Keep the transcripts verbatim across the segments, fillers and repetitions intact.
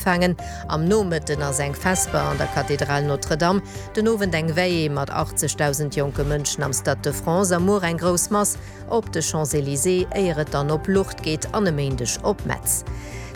Ugefaangen am Nomëtten ass eng Vesper an der Kathedral Notre-Dame, den Owend eng Veillée mat achtzegdausend jonke Mënschen am Stade de France a muer eng grouss Mass op de Champs-Elysées, éier et dann op Lourdes geet an e Méindeg op Metz.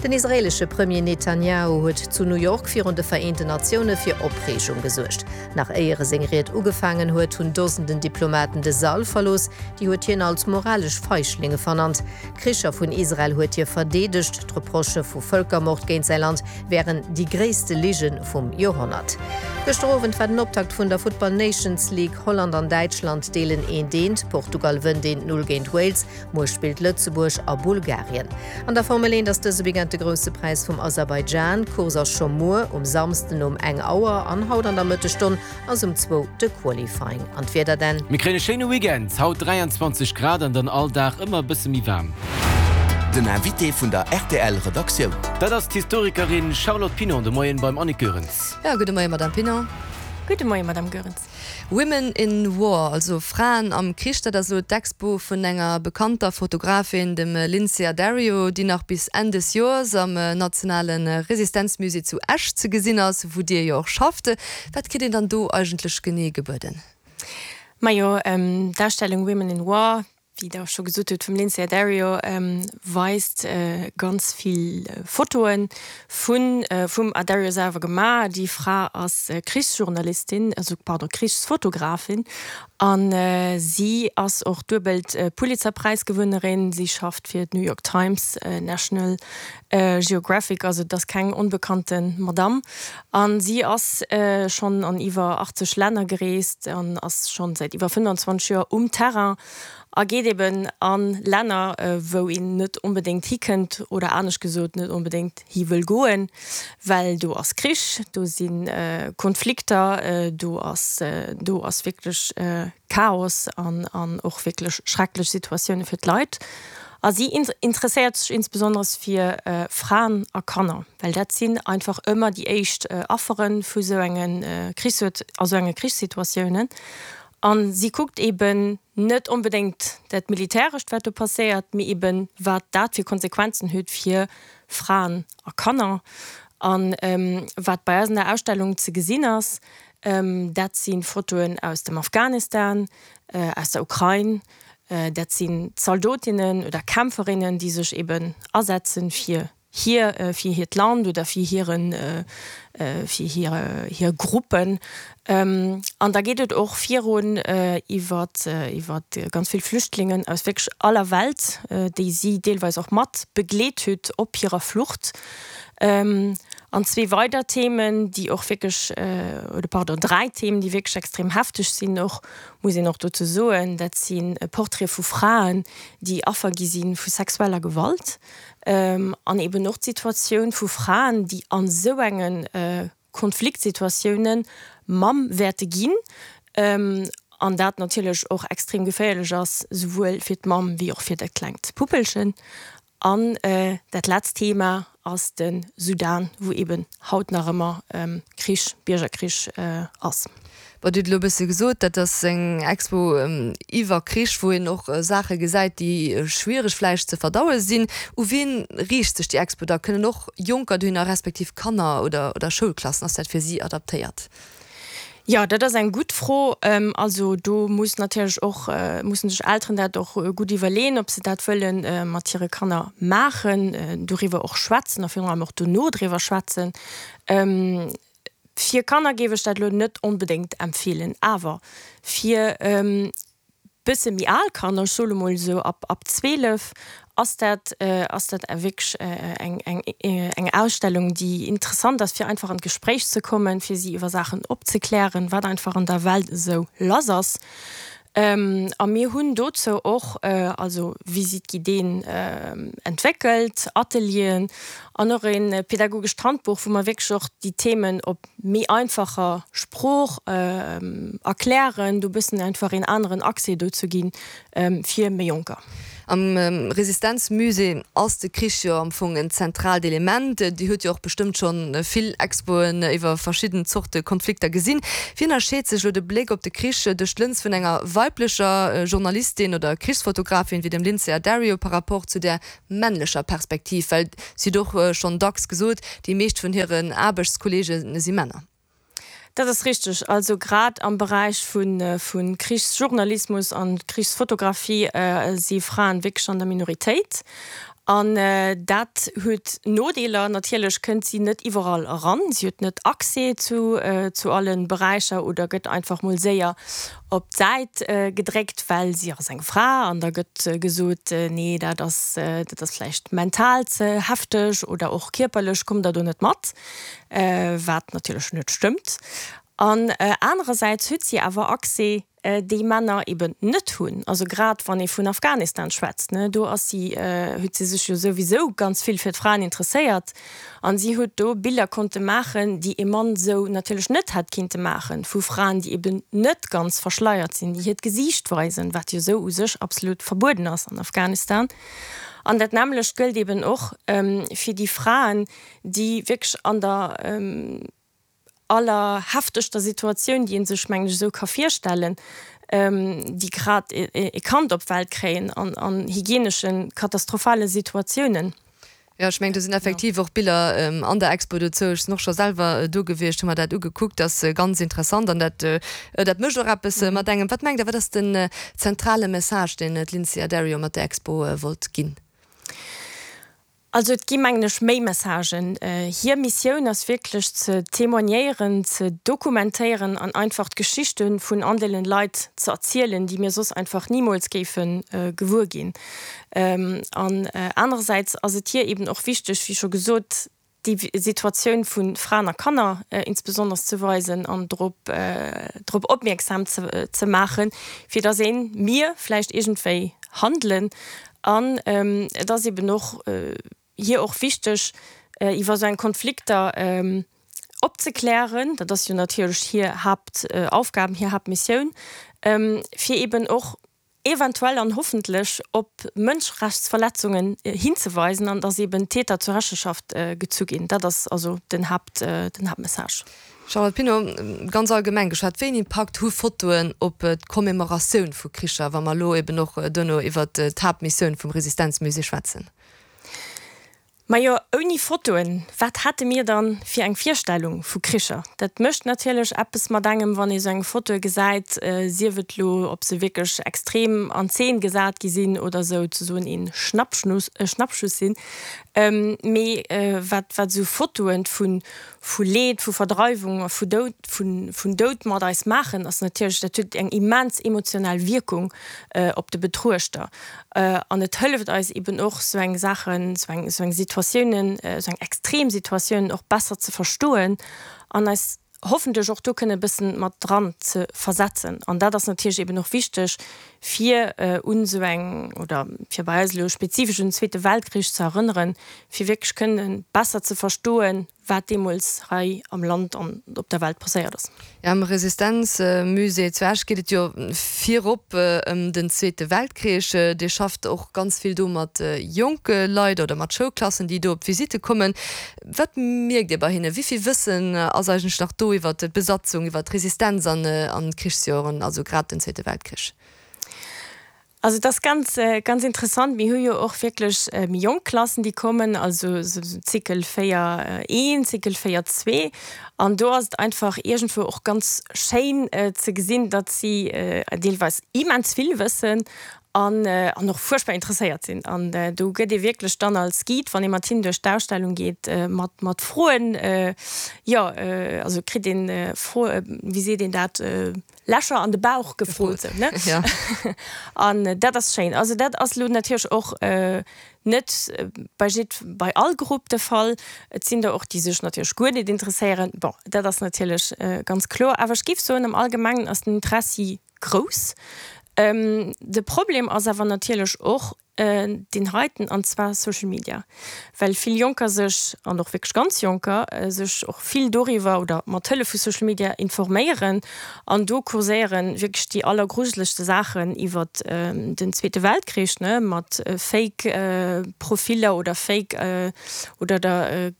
Den israeelesche Premier Netanjahu huet zu New York virun de Vereenten Natioune fir Opreegung gesuergt. Nach éier e seng Ried ugefaangen huet, hunn Dosenden Diplomaten de Sall verlooss. Déi huet hien als moralesch Feiglinge vernannt. D'Kricher vun Israel huet hie verdeedegt, d'Reprochë vu Vëlkermord géint säi Land wären déi gréisste Lige vum Joerhonnert. Gëschter Owend war den Optakt vun der Futtball Nations League. Holland an Däitschland deelen eent eent, Portugal wënnt eent Null géint Wales. Muer spillt Lëtzebuerg a Bulgarien. An der Formel eent ass dëse Weekend de Grousse Präis vum Aserbaidschan. D'Course ass scho muer um Samsden um eng Auer an haut an der Mëttesstonn ass um zwou de Qualifying. An d'Wieder dann? Mir kréien e schéine Weekend, haut dräianzwanzeg Grad an dann all Dag ëmmer e bësse méi waarm. Den Invité vun der R T L Redaktioun. Dat ass d'Historikerin Charlotte Pinon de Moien beim Annick Goerens. Ja, gudde Moien, Madame Pinon. Gudde Moien, Madame Goerens. Women in War, also Fraen am Krich, dat ass elo d'Expo vun enger bekannter Fotografin, dem Lynsey Addario, déi nach bis Enn des Joers am Nationale Resistenzmusée zu Esch ze gesinn ass, wou Dir jo och schafft. Wat kritt een dann do eigentlech genee gebueden? Majo, d'Ausstellung Women in War, wéi Der scho gesot hutt, vum Lynsey Addario, weist ganz vill Fotoe vun vum Addario selwer gemaach. Déi Fra ass Krichsjournalistin, also pardon, Krichsfotografin an si ass och duebelt Pulitzerpräisgewënnerin. Si schafft fir d'New York Times, National Geographic, also et ass keng onbekannte Madamm. An si ass schonn an iwwer achtzeg Länner gereest an ass schonn säit iwwer fënnfanzwanzeg Joer um Terrain a geet eben a Länner, wou een net onbedéngt hikënnt oder anescht gesot net onbedéngt hi wëll goen, well do ass Krich, do si Konflikter, do ass do ass wierklech Chaos an an och wierklech schrecklech Situatioune fir d'Leit. A si interesséiert sech insbesonneres fir Fraen a Kanner, well dat sinn einfach ëmmer déi éischt Affere vu sou enge Krichs a sou enge Krichssituatiounen. A si kuckt eben net onbedéngt dat Militärescht, wat do passéiert, mee eben wat dat fir Konsequenzen huet fir Fraen a Kanner. A wat bei eis an der Ausstellung ze gesinn ass, dat si Fotoen aus dem Afghanistan, aus der Ukrain, dat sinn Zaldotinnen oder Kämpferinnen, déi sech eben asetzen fir hir fir hiert Land oder fir hiren fir hir hir Gruppen. An da geet et och virun iwwer iwwer ganz vill Flüchtlingen aus wierklech aller Welt, déi si deelweis och mat begleet huet op hirer Flucht. An zwee weider Themen, déi och wierklech, oder pardon, dräi Themen, déi wierklech extrem hefteg sinn och, muss een och dozou soen, dat si Portraite vu Fraen, déi Affer gi si vu sexueller Gewalt, an eben och d'Situatioun vu Fraen, déi an esou enge Konfliktsituatioune Mamm wäerte ginn, an dat natierlech och extrem geféierlech ass, souwuel fir d'Mamm wéi och fir dat klengt Puppelchen. An dat letzt Thema ass de Sudan, wou eben haut nach ëmmer Krich, Biergerkrich ass. Bon, Dir hutt elo e bësse gesot, dat ass eng Expo iwwer Krich, wou een och Saache gesäit, déi schwiereg vläicht ze verdaue sinn. U wien riicht sech déi Expo da? Kënnen och Jonker dohinner, respektiv Kanner oder oder Schoulklassen? Ass dat fir si adaptéiert? Jo, dat ass eng gutt Fro. Also do muss natierlech och, mussen sech Elteren dat och gutt iwwerleeën, ob se dat wëlle mat hire Kanner maachen, doriwwer och schwätzen a virun allem och dono driwwer schwätzen. Fir Kanner géif ech dat elo net onbedéngt empfeelen, awer fir bësse méi al Kanner, ech soe lo mol esou ab ab zweelef, ass dat ass dat wierklech eng eng eng Ausstellung, déi interessant ass, fir einfach an d'Gespréich ze kommen, fir si iwwer Saachen opzeklären, wat einfach an der Welt esou lass ass. A mir hunn dozou och also Visite-guidéen entwéckelt, Atelieren an och e pädagogescht Handbuch, wou mer wierklech och déi Themen op méi einfacher Sprooch erklären, do bëssen einfach een aneren Accès dozou ginn fir méi Jonker. Am Resistenzmusée ass de Krich jo am Fong en zentraalt Element. Dir hutt jo och bestëmmt schonn vill Expoen iwwer verschidden Zorte Konflikter gesinn. Wéi ënnerscheet sech elo de Bléck op de Krich duerch d'Lëns vun enger weiblecher Journalistin oder Krichsfotografin wéi dem Lynsey Addario par rapport zu der männlecher Perspektiv? Well si huet och schonn dacks gesot, déi meescht vun hiren Aarbechtskolleege si Männer. Dat ass richteg. Also grad am Beräich vu Krichsjournalismus an Krichsfotografie si Fraen wierklech an der Minoritéit. An dat huet Nodeeler. Natierlech kënnt si net iwwerall eran, si huet net Accès zu zu alle Beräicher oder gëtt einfach mol séier op d'Säit gedréckt, well si ass eng Fra an da gëtt gesot, nee dat ass dat ass vläicht mental ze hefteg oder och kierperlech kommt Der do net mat, wat natierlech net stëmmt. An anerersäits huet si awer Accès, déi Männer eben net hunn. Also grad wann ee vun Afghanistan schwätzt, ne, do ass si, huet si sech jo souwisou ganz vill fir d'Fraen interesséiert an si huet do Biller konnte maachen, déi ee Mann sou natierlech net hätt kinnte maachen, vu Fraen, déi eben net ganz verschleiert sinn, déi hiert Gesiicht weisen, wat jo sou u sech absolut verbueden ass an Afghanistan. An dat nämmlecht gëllt eben och fir déi Fraen, déi wierklech an der allerheftegster Situatioun, déi ee sech, mengen ech, esou ka virstellen, déi grad e Kand op d'Welt kréien an an hygieneschen, katastrophale Situatiounen. Jo, ech mengen, do sinn effektiv och Biller an der Expo dozou. Ech sinn och scho selwer do gewiescht, hu mer dat ugekuckt. Dat ass ganz interessant an dat, dat mécht och eppes mat engem. Wat mengt Der, wat ass den zentrale Message, deen d'Lynsey Addario mat der Expo wollt ginn? Also et gi mengen ech méi Messagen. Hir Missioun ass wierklech ze témoignéieren, ze dokumentéieren an einfach d'Geschichte vun all deenen Leit ze erzielen, déi mir soss einfach nimools géife gewuer ginn. An anerersäits ass et hir eben och wichteg, wéi scho gesot, déi Situatioun vu Fraen a Kanner insbesonders ze weisen an drop drop opmierksam ze ze maachen, fir datt een, mir vläicht iergendwéi handelen. An et ass eben och hir och wichteg, iwwer esou eng Konflikter opzeklären, dat ass jo natierlech hir Haaptaufgaben, hir Haaptmissioun, fir eben och eventuell an hoffentlech op Mënschrechtsverletzungen hinzeweisen an dass eben d'Täter zur Rechenschaft gezu ginn. Dat ass also den Haupt, den Hauptmessage. Charlotte Pinault, ganz allgemeng geschwat, wéi een Impakt hu Fotoen op d'Commemoratioun vu Kricher, wa mer elo eben och duerno iwwert d'Haaptmissioun vum Resistenzmusée schwätzen? Majo, ouni Fotoen, wat hätte mir dann fir eng Virstellung vu Kricher? Dat mécht natierlech eppes mat engem, wann ee sou eng Fotoe gesäit, sief et lo, ob se wierklech extrem an Zeen gesat gi sinn oder souzesoen ee Schnappschnuss, Schnappschuss sinn. Mee wat, wat esou Fotoen vu, vu Leed, vu Verdreiwung a vu Doud, vu, vun Doud mat eis maachen, ass natierlech, dat huet eng immens emotional Wierkung op de Betruechter. An et hëlleft eis eben och, sou eng Saachen, sou eng, sou eng Situatiounen, sou eng extrem Situatiounen och besser ze verstoen an eis hoffentlech och do kënne e bëssen mat dran ze versetzen. An dat ass natierlech eben och wichteg, fir un sou eng, oder fir bei eis elo spezifesch un den Zweete Weltkrich ze erënneren, fir wierklech kënne besser ze verstoen, wat deemools hei am Land an op der Welt passéiert ass. Jo, am Resistenzmusée zu Esch geet et jo virop ëm den Zweete Weltkrich. Dir schafft och ganz vill do mat jonke Leit oder mat Schoulklassen, déi do op Visitte kommen. Wat mierkt Dir bei hinnen? Wéi vill Wëssen ass eigentlech nach do iwwer d'Besatzung, iwwer d'Resistenz an d'Krichsjoren, also grad den Zweete Weltkrich? Also et ass ganz, ganz interessant. Mir hu jo och wierklech méi jonk Klassen, déi kommen, also esou Zykel véier een, Zykel véier zwee. An do ass et einfach iergendwou och ganz schéin ze gesinn, datt si deelweis immens vill wëssen an an och fuerchtbar interesséiert sinn. An do gëtt ee wierklech dann als Guide, wann ee mat hinnen duerch d'Ausstellung geet, mat mat Froen, jo, also kritt een Fro, wéi seet een dat, Lächer an de Bauch gefrot, sou, ne? An dat ass schéin. Also dat ass elo natierlech och net bei jidd, bei all Grupp de Fall. Et sinn der och, déi sech natierlech guer net interesséieren. Bon, dat ass natierlech ganz kloer. Awer ech géif soen, am Allgemengen ass den Interessi grouss. De Problem ass awer natierlech och, deen heiten, an zwar Social Media, well vill Jonker sech, an och wierklech ganz Jonker, sech och vill doriwwer oder mat Hëllef vu Social Media informéieren an do kurséieren wierklech déi allergrujelegste Saachen iwwer den Zweete Weltkrich, ne, mat Fake Profiller oder Fake oder der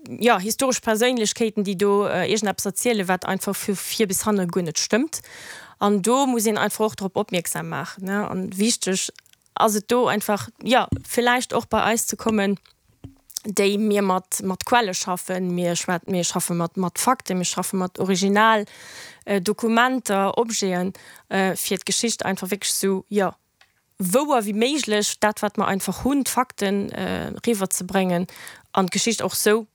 jo, historesch Perséinlechkeeten, déi do iergendeppes erzielen, wat einfach vu vir bis hanne guer net stëmmt. An do muss een einfach och drop opmierksam maachen, ne, an wichteg ass et do einfach, jo, villäicht och bei eis ze kommen, déi mir mat mat Quelle schaffen, mir schwät mir schaffe mat mat Fakten, mir schaffe mat Original Dokumenter, Objeten, fir d'Geschicht einfach wierklech esou, jo, wouer wéi méiglech, dat wat mer einfach hunn, d'Fakten, eriwwerzebréngen an d'Geschicht och esou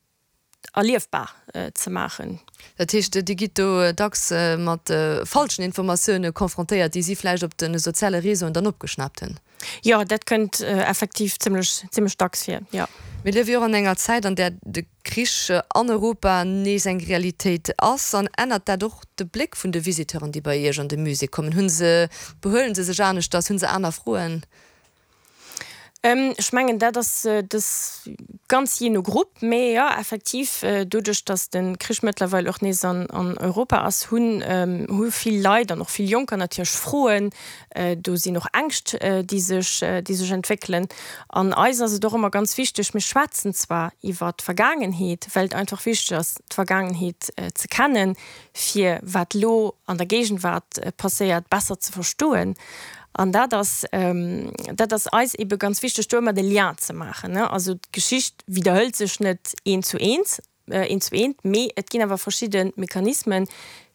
erliefbar ze maachen. Dat heescht, Dir gitt do dacks mat falschen Informatioune confrontéiert, déi si vläicht op de soziale Réseauen dann opgeschnaapt hunn? Jo, dat kënnt effektiv zimmlech, zimmlech dacks vir, jo. Mir liewe jo och an enger Zäit, an där de Krich an Europa nees eng Realitéit ass. An ännert dat och de Bléck vun de Visiteuren, déi bei Iech an de Musée kommen? Hu se, behuelen se sech aneschters? Hu se aner Froen? Ech mengen, dat ass dës ganz jee no Grupp. Mee jo, effektiv, doduerch datt de Krich mëttlerweil och nees an Europa ass, hunn hu vill Leit an och vill Jonker natierlech Froen. Do sinn och Ängscht, déi sech déi sech entwéckelen. An eis ass et och ëmmer ganz wichteg, mir schwätzen zwar iwwer d'Vergaangenheet, well et einfach wichteg ass, d'Vergaangenheet ze kennen, fir wat elo an der Géigenwaart passéiert, besser ze verstoen. An dat ass, dat ass eis ebe ganz wichteg, do ëmmer de Lien ze maachen. Also d'Geschicht widderhëlt sech net eent zu eent, eent zu eent, mee et ginn awer verschidde Mechanismen,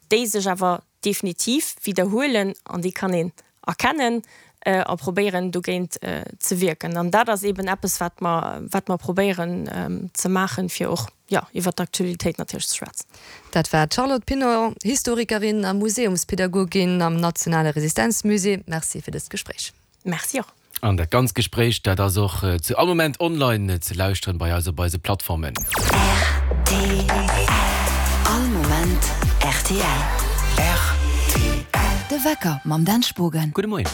déi sech awer definitiv widderhuelen an déi kann een erkennen a probéieren dogéint ze wierken. An dat ass eben eppes, wat mer, wat mer probéieren ze maachen, fir och, jo, iwwert d'Aktualitéit natierlech ze schwätzen. Dat war d'Charlotte Pinon, Historikerin a Museumspädagogin am Nationale Resistenzmusée. Merci fir dëst Gespréich. Merci och. An dat ganzt Gespréich, dat ass och zu all Moment online ze lauschteren bei eis op eise Plattformen. Rtl. All Moment rtl. Rtl. De Wecker mam Dan Spogen. Gudde Moien.